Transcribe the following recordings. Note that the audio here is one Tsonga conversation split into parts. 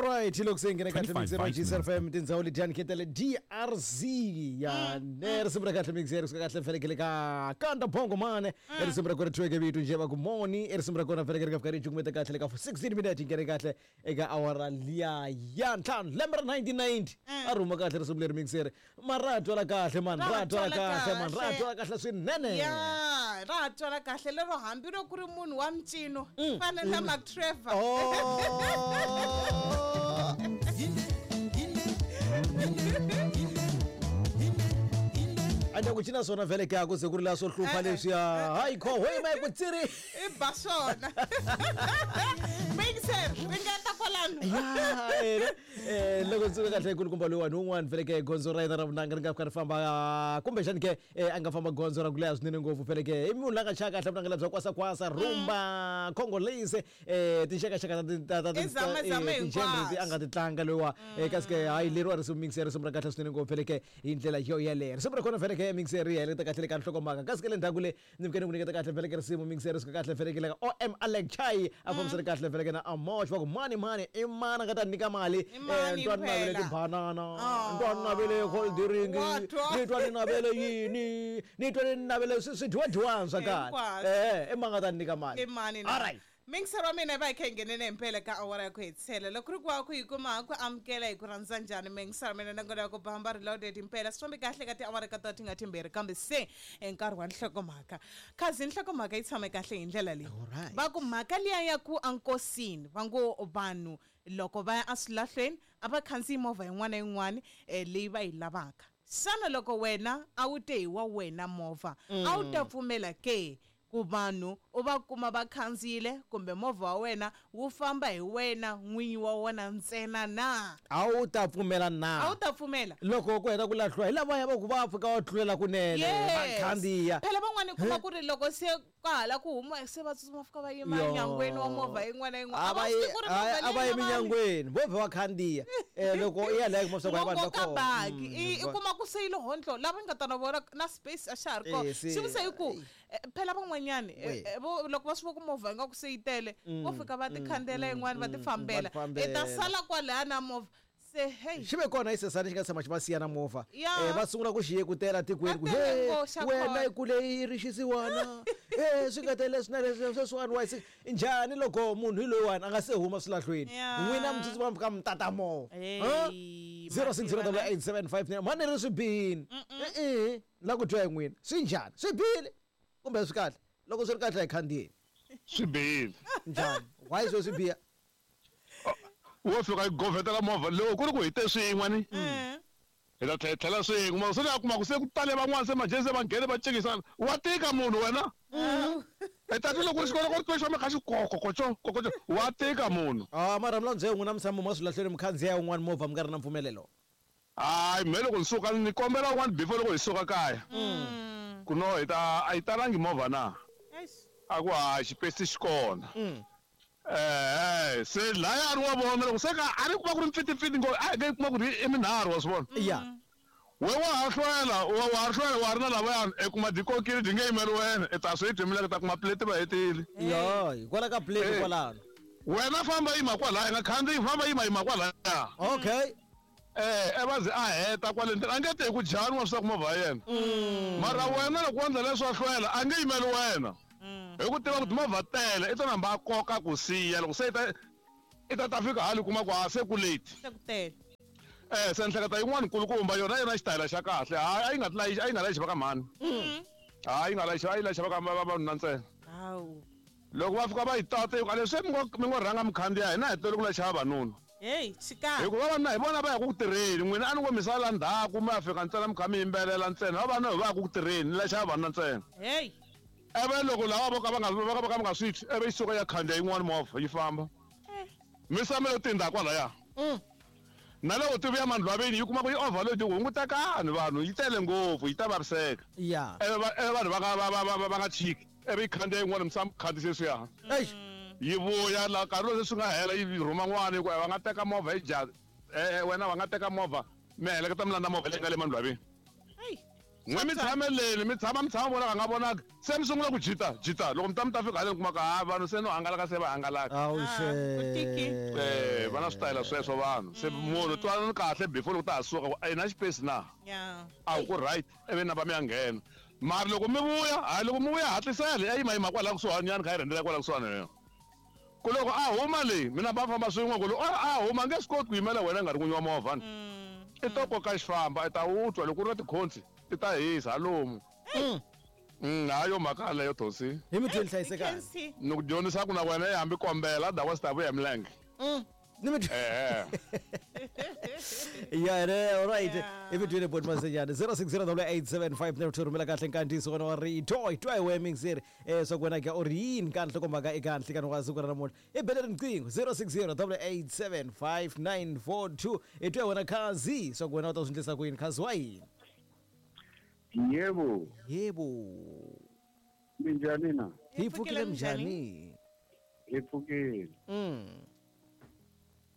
Alright, loko se hi nghena kahle 25 mixer wa vitamins. GCFM tindhawu letiyani khetele DRZ ya ne risimu ra kahle mixer kusuka kahle felekele ka kanda bongo mane i risimu ra kona thyiweke vito njhe va ku moni i risimu ra kona felekele ka fika ri cukumeta kahle le ka 16 minute hi nghene kahle eka awara liya ya ntlhanu lembe ra 1990 a ri huma kahle risimu leri mixer mara ra ha twala kahle man ra ha twala kahle man ra ha twala kahle swinene Ya, ra ha twala kahle lero hambi loko ku ri munhu wa mincino fana na Mark Trevor. Oh. Ande ku cina swona vhele ke a ku ze ku ri la swo hlupha Eh, eh, leswiya hayi kho hoyi ma ku tsiri I ba swona. Mixer, ringeta kwalano. Ya, ene. Eh, loko ndzi suka kahle kulukumba loyiwani wun'wani vhele ke gondzo ra yena ra vunanga ri nga fika ri famba kumbexani ke a nga famba gondzo ra ku leha swinene ngopfu vhele ke i munhu la nga chaya kahle vunanga lebya kwasakwasa rumba congolese tinxakaxaka ta I zamazama ti-genre leti a nga ti tlanga loyiwa kasi ke hayi leriwa risimu mixer risimu ra kahle swinene ngopfu vhele ke hi ndlela yo yeleyo risimu ra kona vhele ke mixer ri heleketa kahle le ka nhlokomhaka kasi ke le ndzhaku le ni fike ni ku nyiketa kahle vhele ke risimu mixer ri suka kahle vhele ke le ka om alec chai a fambisana kahle vhele ke na amosh va ku mani mani i mani a nga ta nyika mali I mani ni twa ni navele phela? tibanana Oh. ni twa ni navele cold drink Wa twa. ni twa ni navele yini ni twa ni navele swidyiwadyiwani swa kahle Hinkwaswo. i mani a nga ta nyika mali I mani na? alright Mixer wa mina hi va hi kha hi nghenene himpela ka awara ya ku hetisela loko ku ri ku wa ku yi kuma ku amukela hi ku rhandza njhani mixer wa mina nakona ya ku bamba reloaded himpela swi fambi kahle ka tiawara ka tona ti nga timbirhi kambe se i nkarhi wa nhlokomhaka khazi nhlokomhaka yi tshame kahle hi ndlela leyi Alright. va ku mhaka liya ya ku enkosini va ngo vanhu loko va ya eswilahlweni a va khandziyi movha yin'wana na yin'wana leyi va yi lavaka xana loko wena a wu te hi wa wena movha a wu ta pfumela ke ku vanhu u va kuma va khandziyile kumbe movha wa wena wu famba hi wena n'winyi wa wona ntsena na A wu ta pfumela a wu na ta pfumela loko ku heta ku lahliwa hi lavaya va ku va fika va tlulela kunene va khandziya phela van'wana kuma ku ri loko se ka hala ku huma se va tsutsuma fika va yima Yo. enyangweni wa movha yin'wana na yin'wana A va va yi- swi tivi ku ri movha a va leyi yi na vanhu. minyangweni vo vhe va khandziya loko i ya laya kuma swa ku Ngo vanhu va koka kona. baki i kuma ku se yi lo hontlo lava nga ta na vona na space a xa ha ri kona Eh, se- xi vuse hi ku phela van'wanyani We. loko va swi vo ku movha ingaku se yi tele vo fika va ti khandziyela yin'wana va ti fambela va ti i ta fambela. sala kwalaya na movha se hey xi ve kona xisesana xi nga tshama xi va siya na movha Ya. Va sungula ku xi yekutela tikweni ku Va tele he ngo xa wena kona." yi kule yi ri xisiwana e swi nga tele swi na leswi sweswiwani wa njhani loko munhu hi loyiwani a nga se huma swilahlweni Ya. n'wina mi tsutsuma mi fika mi tata movha Hey, 06088759 mhani ri swi bihini e-e la ku twa hi n'wina swi njhani swi bihile kumbe swi kahle loko swi ri kahle a hi khandziyeni Swi bihile. Njhani why swo swi biha Wo fika yi govhetela movha loko ku ri ku hi te swin'we ni hi ta tlhela hi tlhela swin'we mara se ni ya kuma ku se ku tale van'wana se majezi se va nghene va cekisana wa tika munhu wena i ta twa loko ri xikolo ku ri twa xi kha xi kokokoco kokoco wa tika munhu Ah, mara mi landze n'wina mi tshama ma swilahlweni mi khandziya wun'wana movha mi nga ri na mpfumelelo hayi me loko ni suka ni kombela un'wana before loko hi suka kaya ku no hi ta a yi talangi movha na Eish. A ku hayi xipesi xi kona se laya a ri wa vona loko se ka a ri kuma ku ri mpfitimpfiti ngo a hi nge kuma ku ri i minharhu wa swi vona ya we wa ha hlwela wa ha hlwela wa ha ri na lavayani i kuma dikokile dyi nge yimeli wena i ta swi dyi ta kuma plate va hetile yo hikwalaho ka plate Eh. kwalano wena famba yima kwalaya i nga khandziyi famba yima yima kwalaya okay e va ze a heta kwale ndlela a nge te hi ku jani wa swi ku movha ya yena mara wena loko wo endla leswo a hlwela a nge yimeli wena hi ku tiva ku timovha tele i ta namba a koka ku siya loko se i ta fika hali kuma ku a se ku late Se ku tele se ni hleketa yin'wana nkulukumba yona yona xitayela xa kahle hayi a yi nga layichi a yi nga layichi va ka mhani hayi yi nga layichi a yi layicha va ka vavanuna ntsena hawu loko va fika va yi tata yi ku a leswi mi ngo rhanga mi khandziya hina hi tele ku layicha vavanuna heyi xikarhi hikuva vavanuna hi vona va ya ku tirheni n'wina a ni ngo mi sala ndzhaku mi ya fika ntsena mi kha mi yimbelela ntsena vavanuna hi va ya ku tirheni ni layicha vavanuna ntsena heyi eve loko lava vo ka va nga va ka va ka va nga swi twi eve yi suka ya khandziya yin'wana movha yi famba mi samele tinda kwalaya na loko ti vuya mandlwaveni yi kuma ku yi overload yi hungutekani vanhu yi tele ngopfu yi ta vaviseka ya eve eve vanhu va nga va nga chiki eve yi khandziya yin'wana mi sa khandziyise swiya eish yi vuya la nkarhi lowu se swi nga hela yi rhuma n'wana yi ku va nga teka movha yi ja wena va nga teka movha mi heleketa mi landza movha leyi nga le mandlwaveni heyi N'we mi tshameleni mi tshama mi tshama vonaka nga vonaka se mi sungula ku jita jita loko mi ta mi ta fika haleni kumaka ha vanhu se no hangalaka se va hangalaka. Va na switayela sweswo vanhu se munhu twanani kahle before loko ta ha suka ku a yi na xipesi na a wu ku right ivi namba mi ya nghena mara loko mi vuya hayi loko mi vuya hatlisela ya yima yima kwala kusuhani nyana kha yi rhendzela kwala kusuhani yona ku loko a huma leyi mi namba famba swin'we ku loko a huma a nge swi koti ku yimela wena nga ri n'winyi wa movha ni i to koka xifamba i ta wu twa loko ku ri na tikhonsi ti ta hisa halomu. Hayi yo mhaka yaleyo Thosi. Hi mi twini hlayisekani. Ni ku dyondzisa ku na wena i hambi kombela otherwise ta vuya hi milenge. Ni mi Ehe. Ya ne all right. I mi twini boti Masenyani 06088759 rhumela kahle nkandziyiso wena wa rito hi twa hi wehe mixeri swa ku wena ke u ri yini ka nhlokomhaka eka nhlikani wa siku ra namuntlha i bele riqingho 0608875942 hi twa hi wena khazi swa ku wena u ta swi endlisa ku yini khazi wa yini. Yebo. Yebo. Minjhani na? Hi pfukile minjhani? Hi pfukile.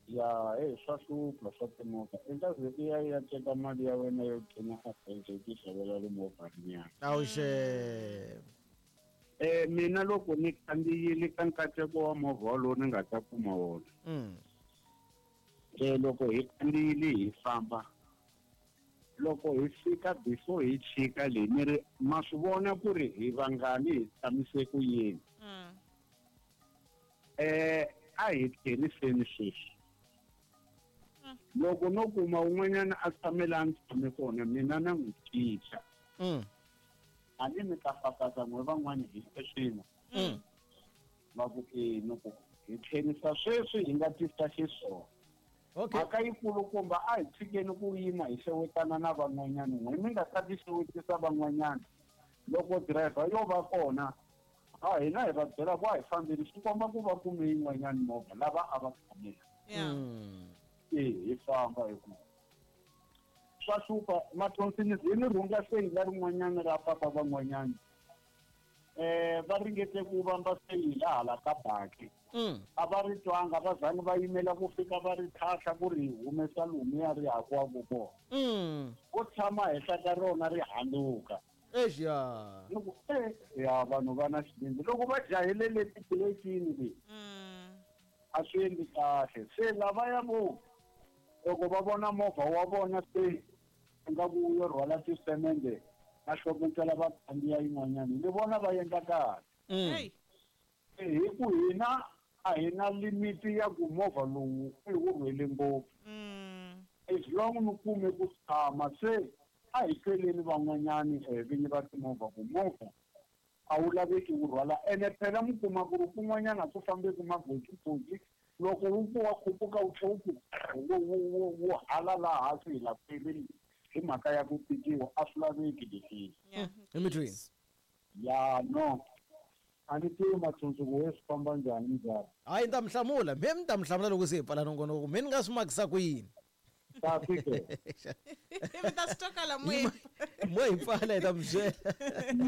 Ya, hey, swa hlupha swa timovha. I nga ze i ya i ya teka mali ya wena yo gcina a bank i ti xavela rimovha rinyana. Awuxe. Mina loko ni khandziyile ka nkateko wa movha wolowo ni nga ta kuma wona. Loko hi khandziyile hi famba loko hi fika before hi chika leyi ni ri ma swi vona ku ri hi vangani hi tshamise ku yini. A hi tlheriseni sweswi. Loko no kuma un'wanyana a tshame laha ni tshame kona mina na n'wi cinca. A ni mi ta fafaza n'we van'wani hi swin'we. Va ku e ni ku hi tlherisa sweswi hi nga tisa xiswona. Okay. Mhaka yikulukumba a hi tshikeni ku yima hi xewetana na van'wanyana n'we mi nga ta ti xewetisa van'wanyana loko driver yo va kona a hina hi va byela ku a hi fambeni swi komba ku va kume yin'wanyana movha lava a va tshamela. E hi famba hi ku swa hlupha mathonsini zi ni rhunga seyila rin'wanyana ra papa van'wanyana. Va ringete ku vamba seyila hala ka baki. A va ri twanga va zangi va yimela ku fika va ri thahla ku ri humesa lomuya ri hakiwaka kona. Ku tshama henhla ka rona ri handuka. Exia. Ni ku ya vanhu va na xivindzi loko va jahele le tibuletini le. A swi endli kahle. Se lavaya vo loko va vona movha wa vona se ingaku wu yo rhwala tisemende va hlokotsela va khandziya yin'wanyana ni vona va endla kahle. Hi ku hina a hi na limiti ya ku movha lowu i wu rhwele ngopfu. As long ni kume ku tshama se a hi tweleni van'wanyani vinyi va timovha ku movha a wu laveki wu rhwala ene phela mi kuma ku ri kun'wanyana ku fambeki magojigoji loko wu ku wa khupuka wu tlhe wu ku wu hala laha hansi hi la khwirini hi mhaka ya ku tikiwa a swi laveki leswi. Hi mi twini? Ya no. A ni tivi matsundzuko wo swi famba njhani njhani. Hayi ni ta mi hlamula, me ni ta mi hlamula loko se hi pfala nongonoko, me ni nga swi makisa ku yini? Kahle ke. Mi ta swi twa kwala moyeni. Mo hi pfala hi ta mi byela.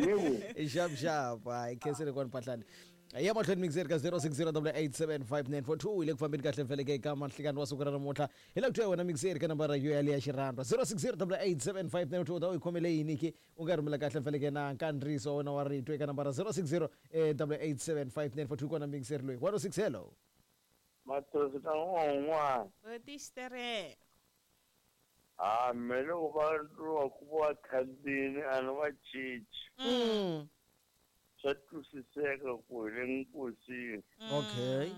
Yebo. Xap xap, hayi khensile kwani Phahlane. Ya mahlweni mixer ka 0608875942 hi le ku fambeni kahle mfeleke eka mahlikani wa siku ra namuntlha hi la ku twa wena mixer ka nambara yo yaleya xirhandwa 0608875942 ta u yi khomele yini ke u nga rhumela kahle mfeleke na nkandziyiso wa wena wa rito eka nambara 0608875942 kona mixer loyi 106 hello. Mathosi ka un'wana. Botixitereko. Ha me loko va lwa ku va khandziyini a ni va cinci. Swa twisiseka ku hi le nkosini. Okay.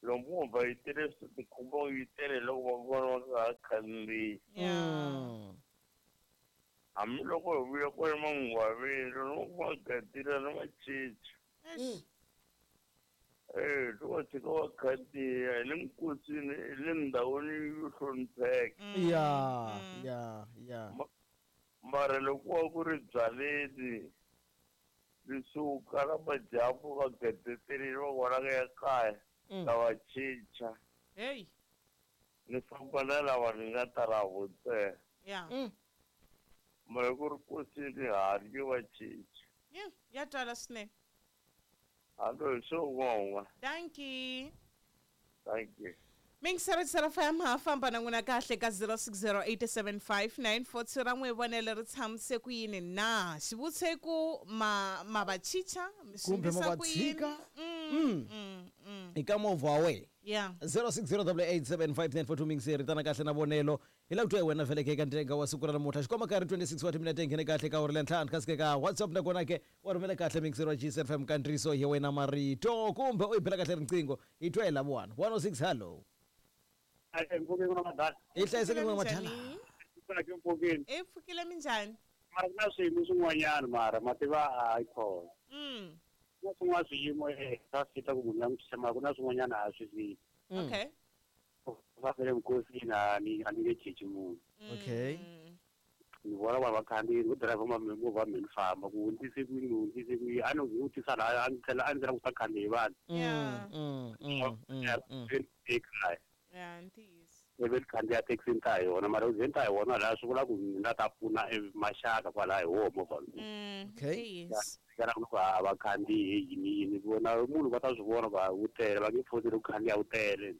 Loko movha yi tele swi tikhumba yi tele loko va vona va nga ha khandziyi. Hambi loko hi vuya kwale mangwaveni loko va gadile a ni va cinci. Loko tshika va khandziya hi le nkosini hi le ndhawini yo hlonipheka. Ya, ya, ya. Mara loko wa ku ri byaleni leswi kala madyambu va gadeterile va vona ka ya kaya ta va cinca. Hey. Ni famba na lava ni nga ta lavo ntsena. Ya. Mara ku ri nkosini ha ri nge va cinci. Ya twala swinene. Hallo, hi swo un'wana. Thank you. Thank you. Mingisera FM ha famba na n'wina kahle ka 06087594 ra n'we vonelo ri tshamise ku yini na xivutiso i ku ma ma va chicha mi swi Kumbe ma endlisa va ku yini? tshika? I ka movha wa wena. Yeah. 0608875942 mingiseri tana kahle na vonelo hi lava ku twa hi wena vheleke eka ntenga wa siku ra namuntlha xikomba karhi 26 wa timinete nghene kahle ka awara ntlhanu kasi ke ka WhatsApp nakona ke wa rhumela kahle mingiseri wa GCFM kantriso hi wena marito kumbe u yi bela kahle riqingho hi twa hi lavuwani 106 hallo. Mpfukeni na madala. Hi hlayiseke n'wina madala. Minjhani? Mpfukeni. I pfukile minjhani? Mara ku na swiyimo swin'wanyana mara mativa hayi khona. Ku na swin'wana swiyimo swa fita ku munhu langutisa mara ku na swin'wanyana a swi fiti. Okay. Va fele minkosini a ni a ni nge cinci munhu. Okay. Ni vona vanhu va khandziyi ku dirayivha movha mi ni famba ku hundzise kwini ni hundzise kwini a ni vutisa laha a ni tlhela a ni tlhela ku ta khandziyi vanhu. Ekaya. Yeah, ntiyiso. Ivi ni khandziya thekisi ni ta hi yona mara u ze ni ta hi wona laha swi vula ku ni nga ta pfuna maxaka kwalaya hi woho movha lowu. Okay. Ntiyiso. Kana ku a va khandziyi yini yini vona munhu va ta swi vona ku wu tele va nge foseli ku khandziya wu tele.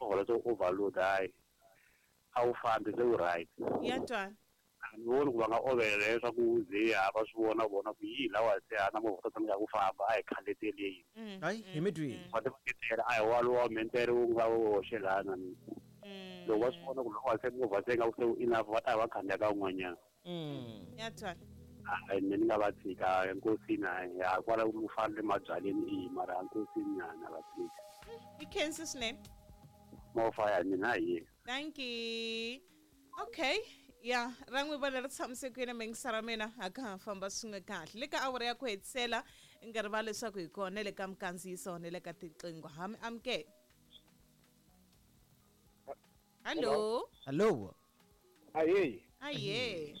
Movha lowu overload hayi a wu fambi se wu right. Ya twala. A ni voni ku va nga ovela leswaku ze a va swi vona vona ku yi lawa se a na movha ta tsandzeka ku famba a hi khandziyeli yini. Hayi hi mi twini. Va ti vaketela a hi walowa mentere wu nga woxe lana. Loko va swi vona ku loko se movha se nga se wu enough va ta va khandziya ka wun'wanyana. Ya twala. Hayi mina ni nga va tshika enkosini hayi a kwala ku fana le mabyaleni i mara enkosini na na va tshika. I khensi swinene. Movha ya mina hi. Thank you. Okay. Ya, ra n'wi vona ri tshamise ku yini mingisara mina a ka ha famba swin'we kahle le ka awara ya ku hetisela i nga rivala leswaku hi kona le ka mikandziyiso na le ka tiqingho ha mi amukela. Hallo. Hallo. Ahee. Aye.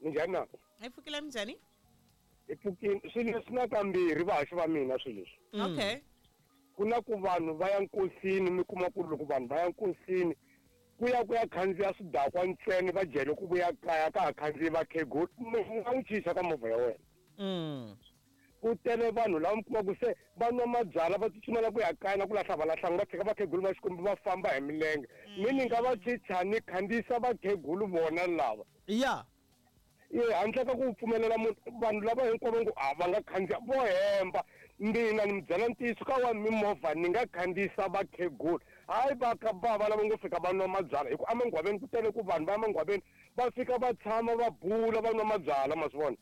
Minjhani na? Hi pfukile minjhani? Hi pfukile. Swilo leswi na kambirhi vahaxi va mina swilo leswi. Okay. Ku na ku vanhu va ya nkosini mi kuma ku loko vanhu va ya nkosini ku ya ku ya khandziya swidakwa ntsena va jele ku vuya kaya ka ha khandziyi vakhegula u nga n'wi chicha ka movha ya wena. Ku tele vanhu lava mi kuma ku se va nwa mabyalwa va tsutsumela ku ya kaya na ku lahla va lahlanga va tshika vakhegulu va Xikwembu va famba hi milenge. Mi ni nga va chicha ni khandziyisa vakhegulu vona lava. Ya. Handle ka ku pfumelela munhu vanhu lava hinkwavo ngo a va nga khandziya vo hemba mina ni mi byela ntiyiso ka wa mimovha ni nga khandziyisa vakhegula hayi va ka bava lava ngo fika va nwa mabyalwa hi ku emangwaveni ku tele ku vanhu va emangwaveni va fika va tshama va bula va nwa mabyalwa ma swi vona.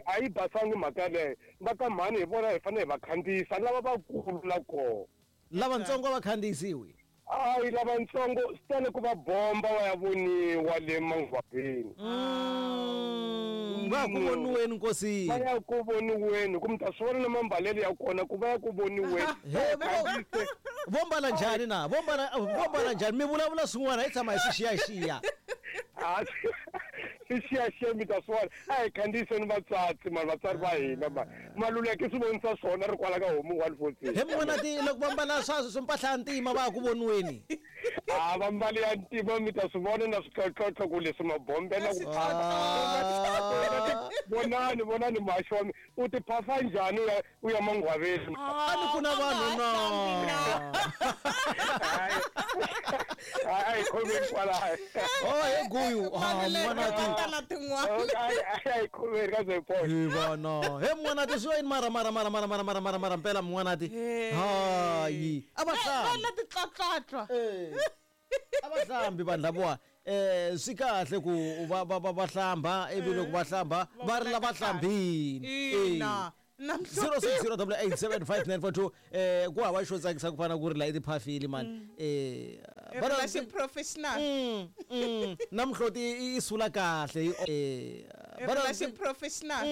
A yi basangi mhaka yaleyo va ka mhani hi vona hi fanele hi va khandziyisa lava vakulu la kona. Lavatsongo va khandziyisiwi. Hayi lavatsongo swi tele ku va bomba va ya voniwa le mangwaveni. Va ku voniweni nkosini. Va ya ku voniweni ku mi ta swi vona na mambalelo ya kona ku va ya ku voniweni. Vo mbala njhani na? Vo mbala njhani? Mi vulavula swin'wana hi tshama hi swi xiyaxiya. Swi xiyaxiya mi ta swi vona. A hi khandziyiseni vatswatsi mani vatswari va hina mani. Maluleke swi vonisa swona ri kwala ka homu 146. He mun'wana ti loko va mbala swa mpahla ya ntima va ya ku voniweni. A va mbali ya ntima mi ta swi vona na switlotlotlo ku leswi mabombela ku phasa. Vonani vonani muhaxi wa mina u ti phasa njhani u ya mangwaveni. A ni ku na vanhu na. Hayi khomeni kwalaho. Oh he guyu. N'wana ti. Hayi khomeni ka ze point. He vana. He n'wana ti swi yini mara mara mara mara mara mara mara mara mpela n'wana ti. Hayi. A va hlambi. Va titlotlotlo. A va hlambi vanhu lavawa. Swi kahle ku va va va hlamba ivi loko va hlamba va ri lava hlambini. Ina. 0608875942 ku hava xo tsakisa ku fana ku ri la i tiphafili mani. Relation professional. Na mihloti i sula kahle. Relation professional.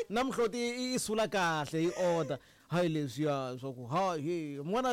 Na mihloti i sula kahle i order. Hayi leswiya swa ku hayi n'wana.